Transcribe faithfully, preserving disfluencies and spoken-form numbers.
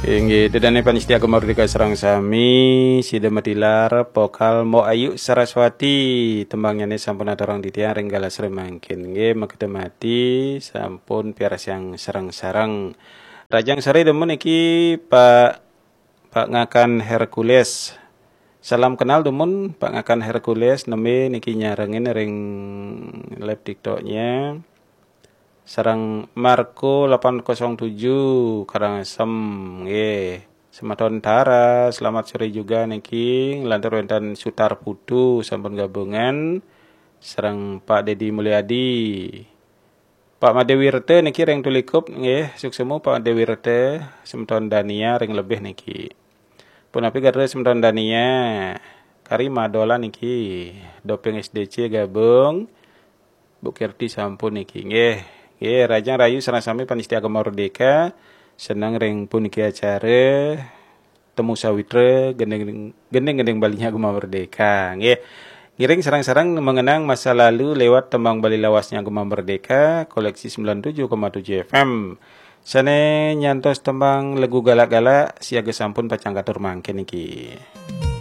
Inggih, ida dané pamiarsa Gema Merdeka sareng sami, sida matilar vokal Mbok Ayu Saraswati, tembangnya né sampun aturang titiang ring galah sore mangkin. Inggih, makita mati sampun piarsayang sareng-sareng. Rahajeng sore dumun niki Pak, Pak Ngakan Hercules. Salam kenal dumun Pak Ngakan Hercules, nembé niki nyarengin ring live TikToknya. Sareng Marco delapan kosong tujuh Karangasem, nggih. Semeton Tara, selamat sore juga niki. Nglantur wénten Sutar Putu sampun gabungan. Sareng Pak Dedi Mulyadi. Pak Made Wirte niki ring Tulikup, nggih. Suksma Pak Made Wirte, semeton Dania ring Lebih niki. Punapi gatra semeton Dania? Kari Madolan niki. Doping S D C gabung. Bu Kirti sampun niki. Nggih. Nggih, rahajeng rahayu sareng sami pamiarsa Gema Merdeka. Seneng ring puniki acara Temu Sawitra, gending, gending-gending Balinya Gema Merdeka. Nggih. Ngiring sareng-sareng mengenang masa lalu lewat tembang Bali lawasnya Gema Merdeka, koleksi sembilan tujuh koma tujuh F M. Sané nyantos tembang lagu galak-galak, siaga sampun pacang katur mangkin niki.